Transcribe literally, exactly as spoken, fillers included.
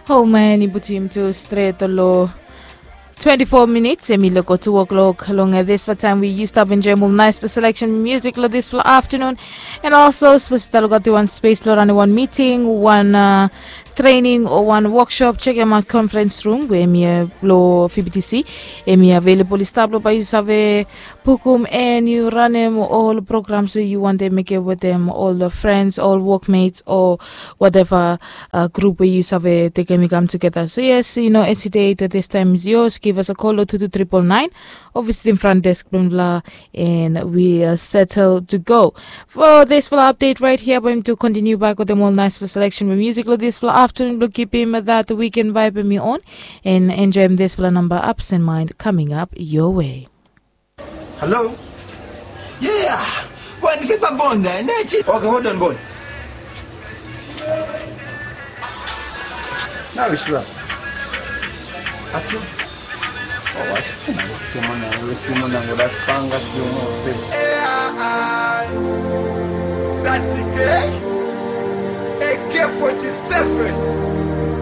Home and i putim tu stret lo twenty-four minutes, em i loko two o'clock long dispela taim we yu stap enjoim ol nice for selection music lo dispela afternoon. And also, suppose i taluk atu wan space blo ranim wan meeting, wan uh, training o wan workshop, check em out conference room we em i uh, lo F B T C. Em i available i stap lo bai yu save pukum and yu ranim ol programs we yu wantem mekim wetem ol friends, ol workmates o whatever uh, group we yu save tekem i kam together. So yes, you know, hesitate that this time is yours. Give us a call lo two two triple nine or visit in front desk bla bla, and we are settled to go. For this fala update right here, I'm going to continue back with them all nice for selection of music lo this fala afternoon. Blo kipim that weekend vibe mi on and enjoy this fala number ups and mind coming up your way. Hello? Yeah. Boy, ni fiba bonda, ne chi. Okay, hold on, boy. Na wishla. Ati. Oh, washi fina. Kemana, westi mona, ngoda panga si mo fe. A I. Thirty K. A K forty-seven.